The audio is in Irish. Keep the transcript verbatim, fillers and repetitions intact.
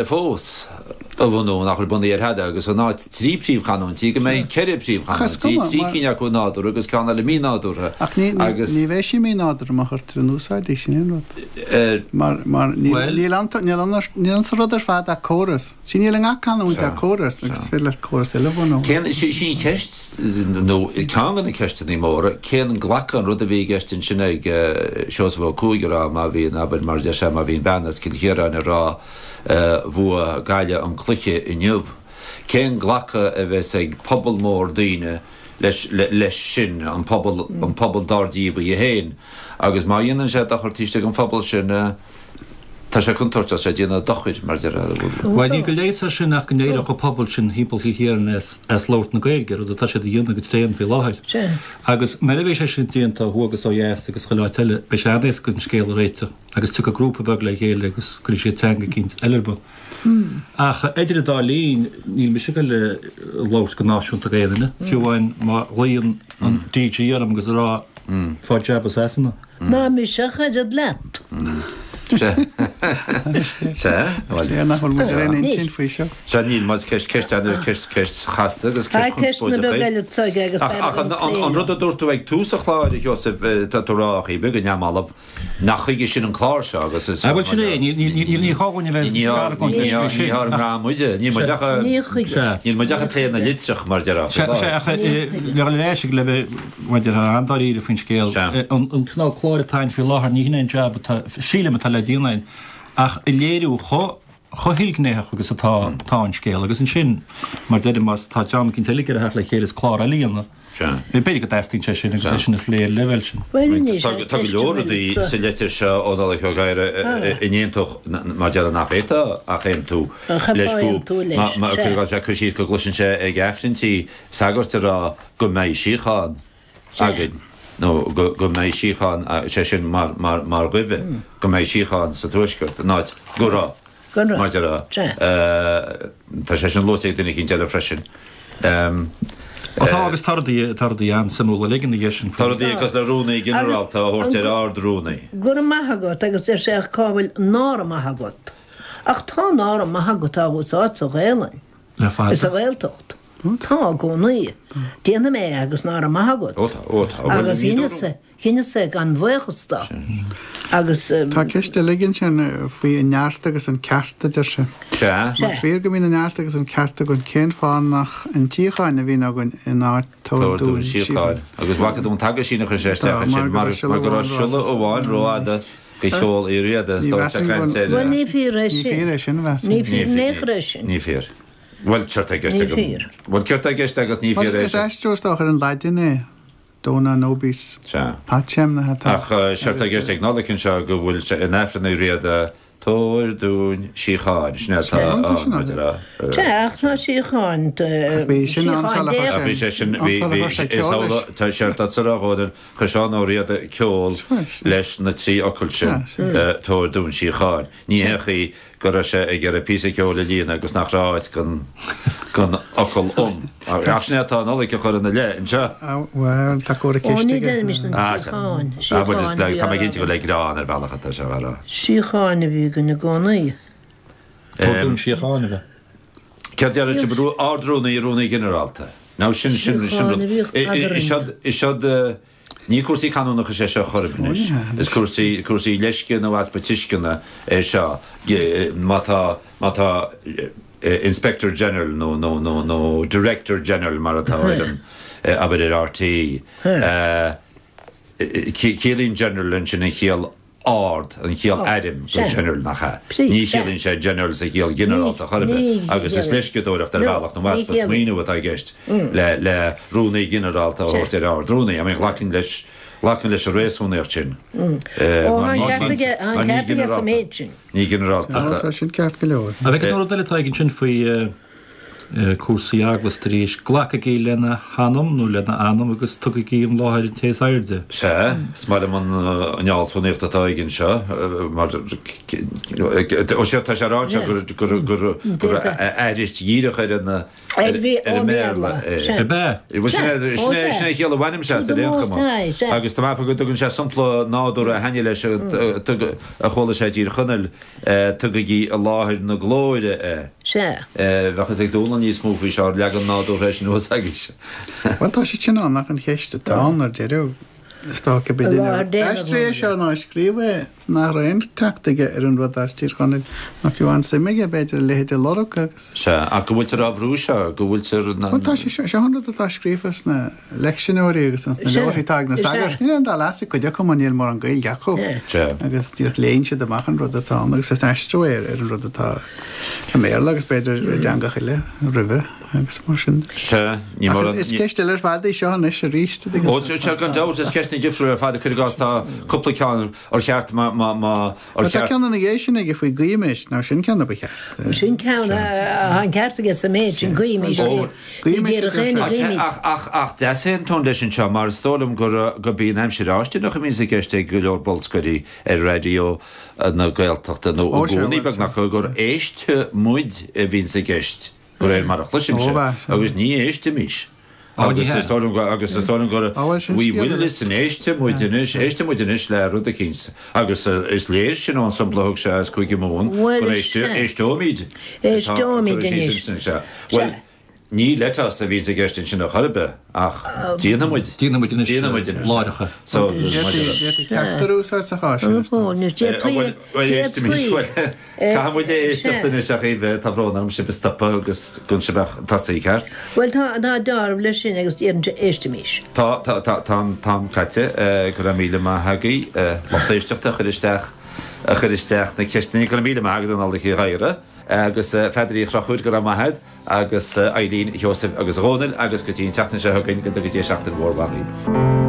fós a bhunú nach bhfuil bunaithe ar thada agus in áit trí príomhchanúintí go mbeidh ceithre príomhchanúintí, trí cinn acu nádúrtha agus ceann eile mínádúrtha. Ach ní ní bheidh sí mínádúrtha má chuirtear in úsáid í, sin é an rud. Mar mar níl ann níl ann níl ann sa rud ar fad ach córas. Sí níl i ngach canúint ach córas agus is féidir leat córas eile a bhunú. Cén sí sí an cheist nó ceann de na ceisteanna móra, cén glacadh an rud a bhí i gceist ansin ag Seosamh Ó Cuaig a rá má bhíonn abair mar a deir sé má bhíonn bean as Cill Chiaráin ag rá Bhuaigh Gaillimh an cluiche inniu. Cén glacadh a bheas ag pobal mór daoine leis leis sin, an pobal an pobal dár díobh í féin? Agus má dhéanann sé dochar taobh istigh den phobal sin, tá sé contúirteach, tá sé ag déanamh dochair, mar deir. Bhuel, níl de leigheas air sin ach go n-éireodh an pobal sin thimpeall Chill Chiaráin as as labhairt na Gaeilge, rud atá siad a dhéanamh go tréan faoi láthair. Agus nuair a bheidh sé sin déanta ó thuaidh agus ó dheas agus chuile áit eile, beidh sé an-éasca an scéal a réiteach. Agus tiocfaidh grúpa beag le chéile agus cuirfidh siad teanga eicínt eile ar bun. Ach idir an dá linn, níl mise ag goil a labhairt go náisiúnta go aon duine, fiú amháin má ghlaonn an D G orm agus ag rá fág jab i Sasana. Ná mise ach oiread leat. Sea. Sea. Bhuel. Sea, nach bhfuil muid ar aon intinn faoi seo. Sea, níl muid. Ceist, ceist an, ceist, ceist chasta agus Tá ceist ceisteanna chonspóideach beaga í. eile aige agus Ach, b'fhearr ach dom an, an, plé an leo. rud a dúirt tú ag tús an chláir, a Sheosaimh, tá tú ag rá, ach beag neamhbhalbh, Nach chuige sin an clár seo agus is. Ah bhuel sin é, ní gá dhúinn a bheith ag argóint leis faoi sin. Ní ár ngrá muide, níl muid ach níl muid ach ag plé na litreach mar déarfá. Sea, sea, ach le dhul ar ais ag le bheith mar déarfá an-dáiríre faoin scéal, an cineál cláir atá ann faoi láthair ní hin é an jab atá, sílim, atá le déanamh againn ach a léiriú chomh chomh hilghnéitheach agus atá atá an scéal agus ansin mar deirim más tá dream eicínt eile ag iarraidh theacht le chéile is clár eile a dhéanamh. B'fhéidir go dteastaíonn sé sin agus é sin a phlé ar an leibhéal sin. Bhuel anois, Tá go leor rudaí sa litir seo ó Nollaig Ó Gadhra a n-aontódh, mar déarfá nach bhféadfá ach aontú leis fúthu. Mar sé cur síos go gcloiseann sé ag Aifrinntí sagairt ag rá go mbeidh síocháin againn nó go mbeidh síocháin, sé sin mar dhuibhe, go mbeidh síocháin sa Tuaisceart in áit go raibh. Mar déarfá. Tá sé sin luaite ag duine eicínt eile freisin. Ó tá agus tá rudaí, tá rudaí an-suimiúla uilig ina dhiaidh sin Tá rudaí cosúil le Rúnaí Ginearálta a thabhairt ar Ard-Rúnaí. Go raibh maith agat agus deir sé ach cá bhfuil ná raibh maith agat? Ach tá ná raibh maith agat á úsáid sa Ghaelainn. Le fada. Is sa Ghaeltacht. Tá i gcónaí. Déanfaidh mé é agus ná raibh maith agat. Ó tá, ó tá. Agus dheineas-sa, dheineas-sa gan bhuíochas do. Agus. Tá ceist eile aige ansin faoi an neart agus an ceart, a deir sé. Sea. Más fíor go mbíonn an neart agus an ceart againn, cén fáth nach an tsíocháin a bhíonn againn in áit tabhair Tabhair dúinn dúinn síocháin. síocháin? Agus bhfaca tú an t-aguisín a chuir sé Tá, isteach mar ansin, go mar raibh siolla mar go raibh amháin siolla rófhada. amháin rófhada do cheol Uí Riada, is Ní dóigh sé mheasaim go caint ar. Bhuel, ní fíor é Ní sin. fíor é sin, a mheasaim. Ní fíor in aon chor é sin. Ní fíor. Bhuel, céard tá i gceist Ní agam? fíor. Bhuel, céard tá i gceist agat, ní Mar fíor é is sin. aistriú is dócha ar an Laidin é, Dona nobis Sea. pacem na atá. Ach séard tá i gceist ag Nollaig anseo go bhfuil sé in Aifreann Uí Riada, Tabhair dúinn síocháin. Sin é atá Sea, tá sin ann, ann. maidir le. Sea, ach tá síocháin, Bhí sin ann síocháin sula Dé. chuir Ach bhí sé sin, ann bhí, sula bhí, chuir sé is ceol leis. amhlaidh, tá séard atá sa rá dhóibh, chuir Seán Ó Riada ceol leis na trí fhocal sin, Sea, sea. Tabhair dúinn síocháin. Ní haon chaoi go raibh sé ag iarraidh píosa ceoil a líonadh agus nach raibh áit don don fhocal 'an'. Ach sin é atá Nollaig a chur ina leith anseo. Bhuel, tá córa Ó, ceist ní aige. deirimist an Ah, sea. tsíocháin. Ah, bhuel, is Síocháin le, a bhí tá á mé rá cinnte gur le againn. greann ar bhealach atá sé á rá. Síocháin a bhí againn i gcónaí. Tabhair dúinn síocháin a bheith. Céard a déarfadh sibh, Ard-Rúnaí, Rúnaí Ginearálta? Now sin, sin, sin Síocháin rud. a bhíodh Is eadrainn. seod, is seod, Ní cúrsaí canúnachais é seo chor ar bith anois. Is cúrsaí, cúrsaí leisce nó easpa tuisceana é seo. Má tá, má tá Inspector General nó, nó, nó, nó Director General mar atá ar an, abair ar R T E, ciallaíonn General ansin an chiall ard, an chiall airm go General nach ea? Ní chiallaíonn sé General sa chiall ghinearálta chor ar bith agus is leisceadóireacht ar bhealach nó easpa smaoineamh atá i gceist le le Rúnaí Ginearálta a thabhairt ar Ard-Rúnaí. I mean ghlacfainn leis ghlacfainn leis an réasúnaíocht sin mar mar ní ginearálta ní ginearálta. Tá sin ceart go leor. An bhfeiceann tú rud eile atá ag ansin faoi Cúrsaí eaglasta arís, glacaigí lena hanam nó lena anam agus tugaigí an láthair an té is airde. Sea, is maith liom an fhealsúnaíocht atá aige anseo, mar ó sea, tá sé a rá anseo gur gur gur gur aithris dhíreach ar an ar an mBéarla é. Ab ea? Bhuel, sin é sin é sin é a chiall a bhainim as ar aon chuma. Agus tá mé ag ceapadh go dtugann sé sampla nádúrtha a thaitnigh leis a chuala sé i dTír Chonaill, tugaigí i láthair na glóire é. Sea. Bheadh fhios ag Dónall níos mó faoi seo, ar leagan nádúrtha é sin thuas agaibhse. Bhuel, tá siad sin ann ach an cheist atá ann ar deireadh, is dócha, I b'fhéidir láthair nár Dé na aistrigh é glóire. seo ná a scríobh é, nach raibh aon teacht aige ar an rud as Tír Chonaill, ná fiú aon suim aige, b'fhéidir, a leithéid a lorg agus. Sea, ach go bhfuiltear á bhrú seo, go bhfuiltear. Bhuel, tá sé seo, seo an rud atá scríofa sna leicseanóirí agus sna Sea, leabharthaí atá ag na sea. sagairt. Níl aon dá leas ag cuid acu mar níl mórán Gaeilge acu. Sea. Agus díreach léann siad amach an rud atá ann agus is aistriú é ar an rud atá i mBéarla agus b'fhéidir i dteangacha eile roimhe agus mar sin. Sea, ní Ach mórán. is ceist eile ar fad í seo anois arís. Ó, sea, gan dabht, is ceisteanna difriúla ar fad, cuir i gcás, tá cúpla ceann ar cheart má, má, má, ar Tá cheart. ceann ina dhiaidh sin aige faoi guímis, nó sin ceann a ba cheart. Sin ceann a an ceart aige sa méid sin guímis. Ó, Ní déarfadh éinne Ach, guímid. ach, ach, ach d'easaontóinn leis anseo, mar is dóigh liom gur, gurb í an aimsir fháistineach a bhíonns i gceist ag go leor bolscairí ar Raidió na Gaeltachta nó i Ó, sea, gcónaí bhuel, beagnach gur éistfidh muid a bhíonns i gceist, de réir mar a chloisimse, Ó, bha, sea. agus ní éistimis. Ó, ní Agus hea. is dóigh liom go, agus is dóigh liom gur Ó, bhuel, sin we scéal will eile. listen, éistfidh muid anois, éistfidh muid anois le rud eicínt. Agus is léir sin ón sampla a thug sé as Cúige Mumhan Bhuel, gur sea. éisteoimid. Éisteoimid Tá cur síos anois. ansin, sea. Bhuel, Sea. ní let us a bhíonns i gceist ansin ar chor ar bith, ach déanfaidh muid. Déanfaidh muid anois, Déanfaidh muid anois. láithreacha. So, D'fhéadfaí ceachtar a úsáid sa chás sin, is Ó, dóigh. nó d'fhéadfaí, Bhuel, bhuel, éistimis, d'fhéadfaí. bhuel, caithfidh muid é éisteacht Sea. anois ach Aoibhe, tá brón orm sibh a stopadh agus go sibh ach tosaí ceart. Bhuel, tá, tá deáramh leis sin agus deireann sé éistimis. Tá, tá, tá, tá an t-am caite, go raibh míle maith agaibh, lucht éisteachta a chuir isteach, a chuir isteach na ceisteanna, go raibh míle maith agat a Nollaig Uí Ghadhra, agus Pheadair Uí Chonchúir, go raibh maith agat, agus Eileen Sheosaimh agus Dhónaill, agus go dtí an tseachtain seo chugainn, go dtuga Dia seachtain mhór mhaith dhaoibh.